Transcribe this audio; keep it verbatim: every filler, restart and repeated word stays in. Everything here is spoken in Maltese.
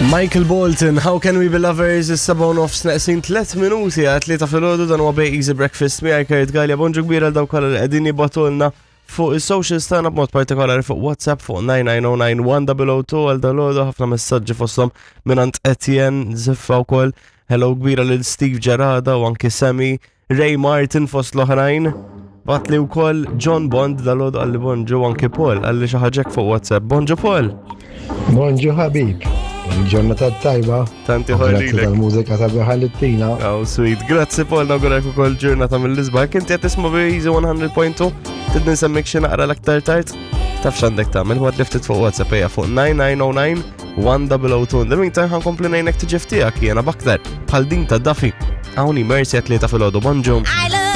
Michael Bolton, How Can We Be Lovers, is-seba u nofs neqsin tliet minuti għat-tlieta filgħodu. Dan huwa Bay Easy Breakfast miegħi Kurt Galea. Bonġu kbira għal dawk kollha li qegħdin jibagħtulna fuq is-socials tagħna, b'mod partikolari fuq WhatsApp fuq nine nine zero nine one zero zero two. Għal dalgħodu ħafna messaġġi, fosthom mingħand Etienne Ziffa wkoll. Hello kbira lil Steve Gerada u anki Sammy Ray Martin fost l-oħrajn. Bagħatli wkoll John Bond dalgħodu, qalli bonġu, anki Paul qalli xi ħaġa fuq WhatsApp. Bonġu, Paul. Bonġu ħabib, ġurnata tajba. Tanti. Grazzi tal-mużika sabiħa li ttina. Oh, sweet. Grazzi, Paul, nawgurak ukoll ġurnata mill-isbaħ. Inti qed tisma' Easy one hundred point two, trid nsemmik xi naqra l-aktar tard. Taf x'għandek tagħmel, ibgħatli ftit fuq WhatsApp, ejja, fuq nine nine zero nine one zero zero two. In the meantime, ħa nkompli ngħinek tiġi f'tiegħek jiena b'aktar bħal din ta' Duffy. Hawn Mercy għat-tlieta filgħodu, bonġu. I